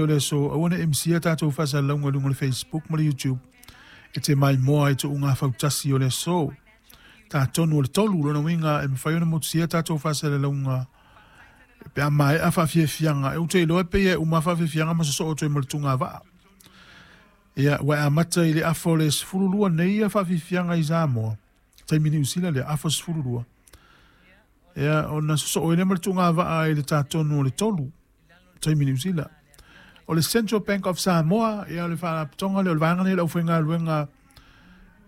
o le aso, aua ne i misia tatou faasalalauga i luga o le Facebook ma le YouTube e te maimoa ai tuuga fautasi o le aso. Tatonu o le 3, lona uiga e mafai ona motusia tatou faasalalauga pe a maea faafiafiaga. E ou te iloa e pei e uma faafiafiaga ma sosoo atu ai ma le tugavaa. Ia, ua e amata i le afa o le 12 nei ia faafiafiaga i Samoa, taimi Niu Sila lea, afa 12. Ia, ona sosoo ai lea ma le tugavaa i le tatonu o le 3, taimi Niu Sila. O le Central Bank of Samoa, ia o le faalapotopotoga lea o le vaega lea o le aufaigaluega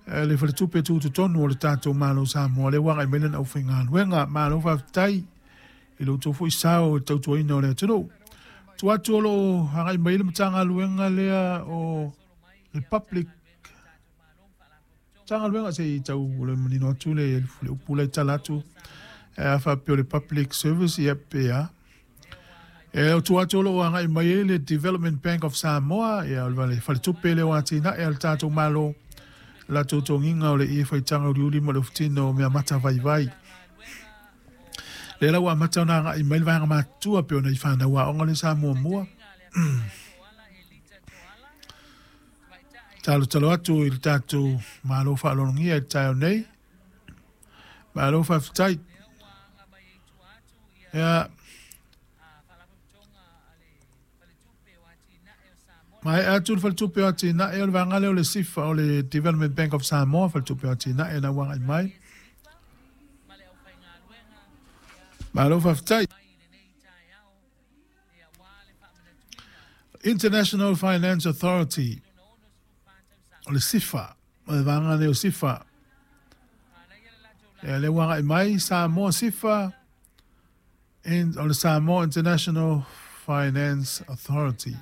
le faletupe tutotonu o le tatou Malo Samoa, lea ua agai mai lana aufaigaluega. Malo faafetai i lo outou foi sao i le tautuaina o le atunuu. Tuu atu o lo o agai mai le Matagaluega lea o le Public Matagaluega se i tau le manino atu le upu la i tala atu a faapea o le Public Service ia pe a. E o tua atu o lo o agai mai ai le Development Bank of Samoa, ia o le faletupe lea o atinae a le tatou Malo, latou togiga o le ie faitaga uliuli ma le ofutino o mea mata vaivai. Lea la ua amata ona agai mai le vaega matutua pei ona i fanau aoga le sa muamua. Talotalo atu i le tatou Malo faaaloalogia i le taeao nei. Malo faafetai. Ia, maea atu le faletupe o atinae o le vaega lea o le SIFA o le Development Bank of Samoa, faletupe o atinae na ua agai mai. Malo faafetai. International Finance Authority o le SIFA, o le vaega lea o SIFA. Ia, lea ua agai mai Samoa SIFA and o le Samoa International Finance Authority.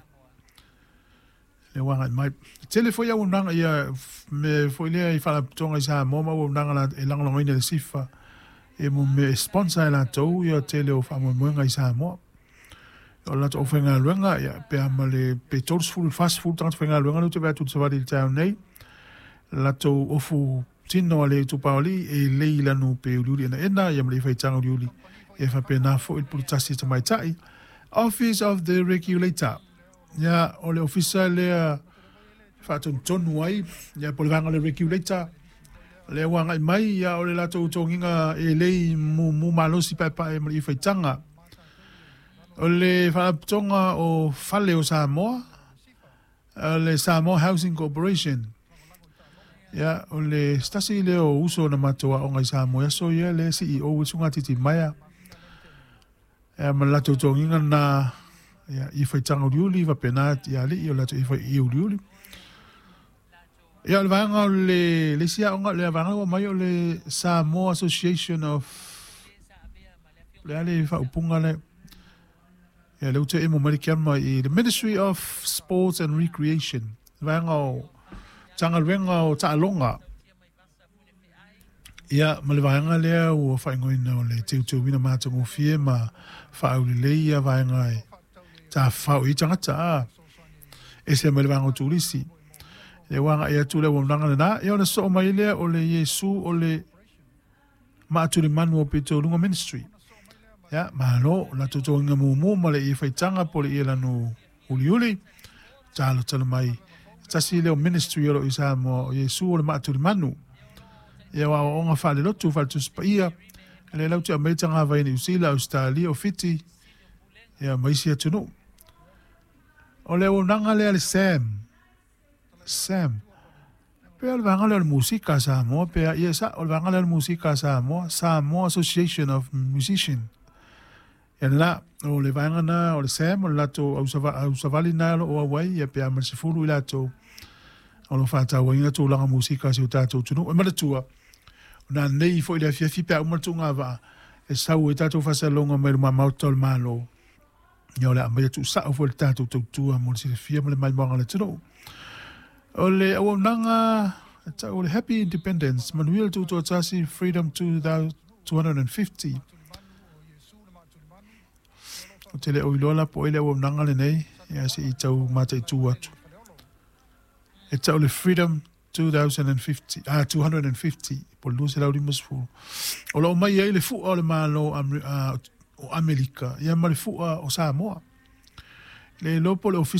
Lea ua agai mai. Tele foi auaunaga ia me foi lea i faalapotopotoga i Samoa ma auaunaga e lagolagoina e le SIFA e mo mea e sponsor e latou ia tele o faamoemoega i Samoa. O le latou aufaigaluega ia pe a ma le pe 30 i le 40 tagata faigaluega lea ou te vaai atu i le savali i le taeao nei. Latou ofu tino a le itupa o alii e lei lanu pe uliuli enaena ia ma le faitaga uliuli e faapena foi le puletasi tamaitai. Office of the Regulator, ia o le ofisa lea faatonutonu ai ia po o le vaega o le Regulator lea ua agai mai ia o le latou togiga e lei mumu malosi paepae ma le faitaga. O le faalapotopotoga o Fale o Samoa, le Samoa Housing Corporation. Ia, o le tasi lea o uso na matou aoga i Samoa i aso ia le CEO e suga titi maia. Ia, ma le latou togiga na ia, i faitaga uliuli faapena ia alii o latou i uliuli. Ia, o le vaega o le isi aoga, le vaega ua mai o le Samoa Association of le a le faaupuga le ia le ute emo mai le kiama i the Ministry of Sports and Recreation, vaega o Matagaluega o Taaloga. Ia, ma le vaega lea ua faaigoaina o le teuteuina matagofie ma faaulelei ia vaega e tafafao i tagata a ese mai le vaega o turisi. Lea ua agai atu le auaunaga lena, ia ona soo mai lea o le Iesu o le Maatulemanu o Pitoluga Ministry. Ia, malo, latou togiga mumu ma le ie faitaga po le ie lanu uliuli. Talotalo mai. Tasi lea o ministry o lo o i Samoa o Iesu o le Maatulemanu. Ia o aoaoga faalelotu faaletusi paia. Le lau te aumai tagavai i Niu Sila, Australia, o Fiti, ia ma isi atunuu. O le auaunaga lea le SAM. SAM. Pe o le vaega lea o le musika a Samoa, pe a, ia sa, o le vaega lea o le musika a Samoa, Samoa Association of Musicians. Ia lena, o le vaega na o le SAM, o le latou ausavali na o lo o auai, ia pe a ma le 10 i latou o lo o faatauaina tulaga musika a si o tatou atunuu. E manatua, o na nei foi le afiafi pe a uma le tuugavaa, e sau ai tatou faasalalauga mai luma maota o le Malo. Ia o le a aumai tuusao foi le tatou tautua mo le silafia ma le maimoaga o le atunuu. O le auaunaga tau o le Happy Independence, manuia le tuutoatasi, Freedom 250. O te le o iloa la po o ai le auaunaga lenei, ia se i tau mataitu atu. E tau le Freedom 2050, ah, 250, po o le 250. O lo o mai ai le fua o le Malo o Amerika, ia ma le fua o Samoa. Le iloa po o le ofisa